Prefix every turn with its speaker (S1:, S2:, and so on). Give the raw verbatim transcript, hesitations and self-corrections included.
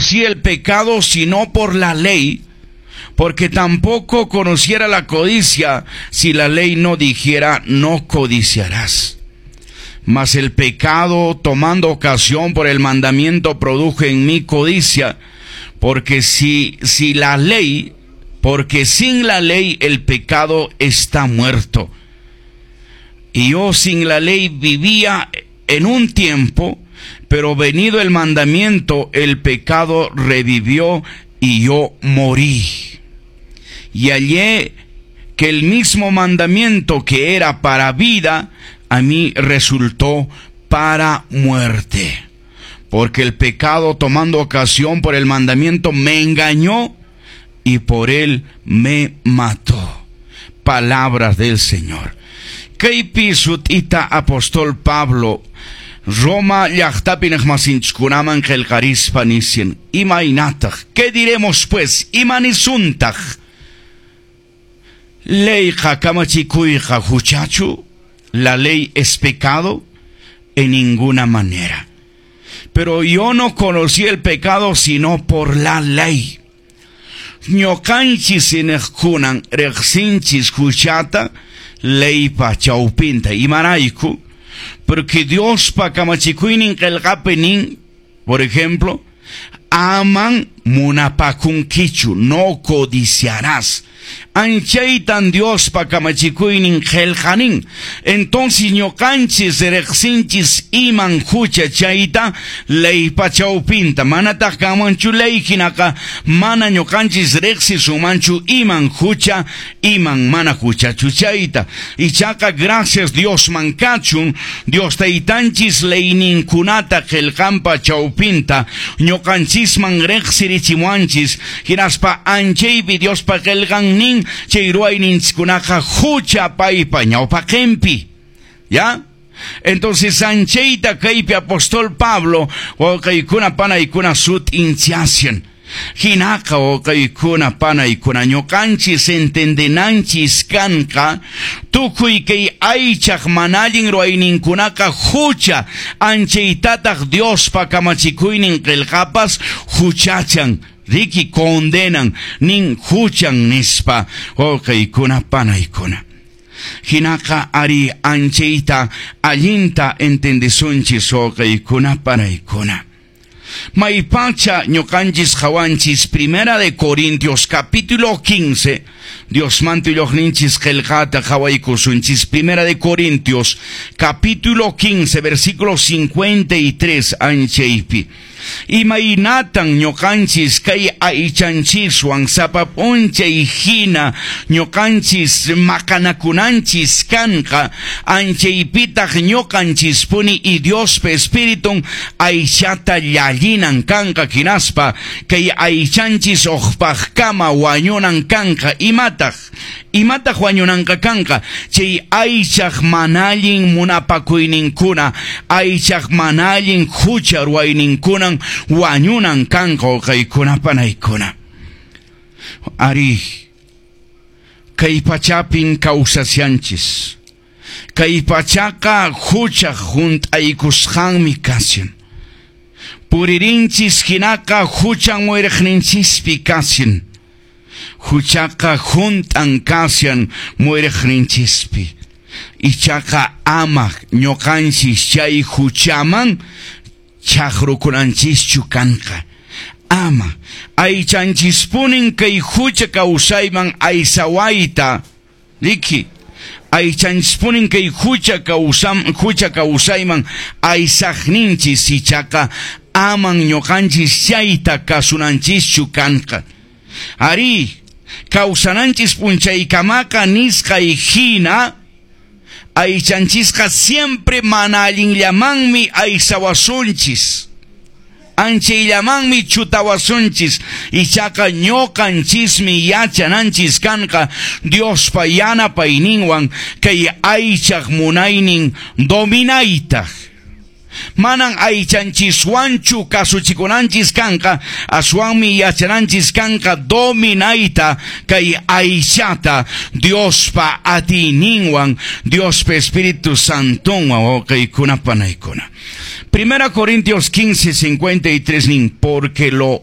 S1: conocí el pecado sino por la ley, porque tampoco conociera la codicia si la ley no dijera no codiciarás. Mas el pecado, tomando ocasión por el mandamiento, produjo en mí codicia, porque si, si la ley, porque sin la ley el pecado está muerto. Y yo sin la ley vivía en un tiempo, pero venido el mandamiento, el pecado revivió y yo morí. Y hallé que el mismo mandamiento que era para vida, a mí resultó para muerte. Porque el pecado, tomando ocasión por el mandamiento, me engañó y por él me mató. Palabras del Señor. Kaypi sut'ita apóstol Pablo Roma llaqtapi iñiqmasinchiskunaman qillqarispa nishan imaynataq ¿Qué diremos pues? Imanisuntaq Leyqa kamachikuyqa huchachu La ley es pecado en ninguna manera. Pero yo no conocí el pecado sino por la ley. Ñuqanchis iñiqkunan riqsinchis huchata leypa chawpinta imarayku porque Diospa kamachikuynin qillqapi nin por ejemplo aman munapakunkichu no codiciarás anchaytan Diospa kamachikuynin qillqanin entonces ñuqanchis riqsinchis iman hucha chayta leypa chawpinta manataq kanmanchu ley hinaqa mana ñuqanchis riqsisumanchu iman hucha iman mana huchachu chayta ichaqa gracias Diosman kachun Dios taytanchis leyninkunata qillqanpa chawpinta ñuqanchisman riqsirichimuanchis hinaspa anchaypi Diospa qillqan nin chay ruwayninchikkunaqa hucha paypa ñawpaqinpi ¿ya? Entonces anchayta kaypi apóstol Pablo wawqiykuna panaykuna sut'inchashan hinaqa wawqiykuna panaykuna ñuqanchis entendenanchis kanqa tukuy kay aychaq mana allin ruwayninkunaqa hucha anchaytataq Diospa kamachikuynin qillqapas huchachan riki condenan nin huchan nispa wawqiykuna panaykuna hinaqa ari anchayta allinta entendesunchis wawqiykuna panaykuna Maypacha ñuqanchis qhawanchis primera de Corintios capítulo quince Diosmanta willaqninchis qillqata qhawaykusunchis primera de Corintios capítulo quince versículo cincuenta y tres anchaypi Imaynatan ñuqanchis kay aychanchiswan sapa p'unchay hina ñuqanchis maqanakunanchis kanqa anchaypitaq ñuqanchispuni y Diospa Espiritun aychata llallinan kanqa hinaspa kay aychanchis uqpaqkama wañunan kanqa imataq imataq wañunanqa kanqa chay aychaq mana allin munapakuyninkuna aychaq mana allin hucha ruwayninkunan wañunan kanqa wawqiykuna panaykuna ari kay pachapin kawsashanchis kay pachaqa huchaq hunt'aykusqanmi kashan puririnchis hinaqa huchan muyriqninchispi kashan huchaqa hunt'an kashan muyriqninchispi ichaqa ama ñuqanchis chay huchaman chaqrukunanchischu kanqa ama aychanchispunin kay hucha kawsayman aysawayta riki aychanchispunin kay hucha kawsam hucha kawsayman aysaqninchis ichaqa aman ñuqanchis chayta kasunanchischu kanqa ari kawsananchis p'unchaykamaqa nisqay hina aychanchisqa siempre mana allinllamanmi aysawasunchis anchayllamanmi chutawasunchis ichaqa ñuqanchismi yachananchis kanqa Diospa yanapayninwan kay aychaq munaynin dominaytaq manan aychanchiswanchu kasuchikunanchis kanqa aswanmi yachananchis kanqa dominayta kay aychata Diospa atiyninwan Diospa Espíritu Santonwan wawqiykuna panaykuna Primera Corintios quince, cincuenta y tres nin porque lo